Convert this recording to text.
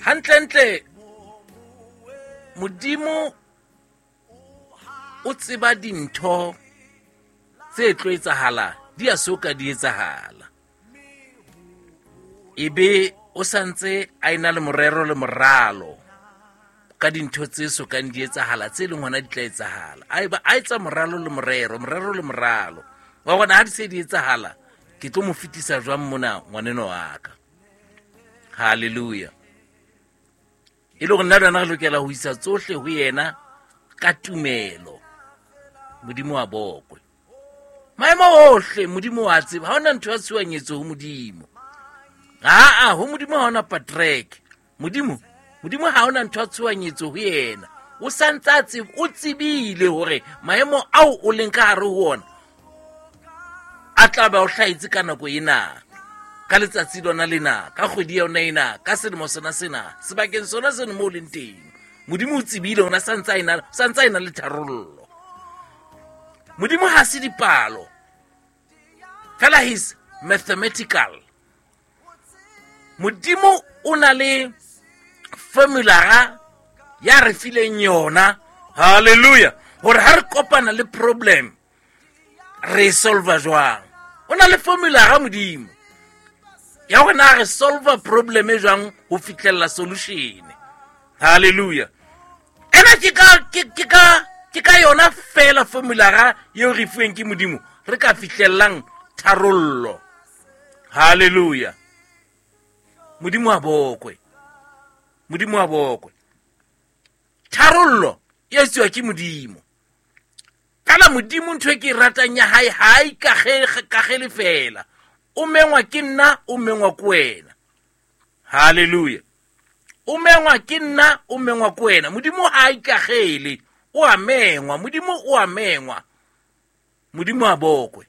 Hantlentle Modimo o tseba dintho tse tlo etsahala di a so ka di etsahala. Ebe o santse a ena le morero le moralo ka dintho tse so kang di etsahala tse leng hona di tla etsahala. A eba a etsa moralo le morero, morero le moralo. Wa bona ha di se di etsahala, ke tlo mo fetisa jwang mona ngwaneno wa ka. Hallelujah. E le gore nna le wena re lokela ho isa tsohle ho yena ka tumelo. Modimo wa bokwe. Maemo ohle Modimo wa tseba. Ha hona ntho ya tshohanyetso ho Modimo. Aa, ho Modimo ha hona patrek. Modimo, Modimo ha hona ntho ya tshohanyetso ho yena. O santse a tseba, o tsebile hore maemo ao o leng ka hare ho ona a tla ba o hlahetse ka nako ena, ka letsatsi lona lena, ka kgwedi yona ena, ka selemo sona sena, sebakeng sona seno mo o leng teng. Modimo o tsebile hore santse a ena, santse a ena le tharollo. Modimo ha se dipalo, fela he's mathematical. Modimo o na le formulara ya re fileng yona, hallelujah, hore ha re kopana le problem re e solva jwang. O na le formulara Modimo ya hore na re solva problem e jwang ho fihlella solution. Hallelujah. Ena ke ka, ke, ke ka, ke ka yona fela formulara eo re fuweng ke Modimo re ka fihlellang tharollo. Hallelujah. Modimo a bokwe. Modimo a bokwe. Tharollo e etsuwa ke Modimo. Fela Modimo ntho e ke e ratang ya hae ha a ikagele fela. O mengwa ke nna, o mengwa ke wena. Hallelujah. O mengwa ke nna, o mengwa ke wena. Modimo ha a ikagele, o a mengwa. Modimo o a mengwa. Modimo a bokwe.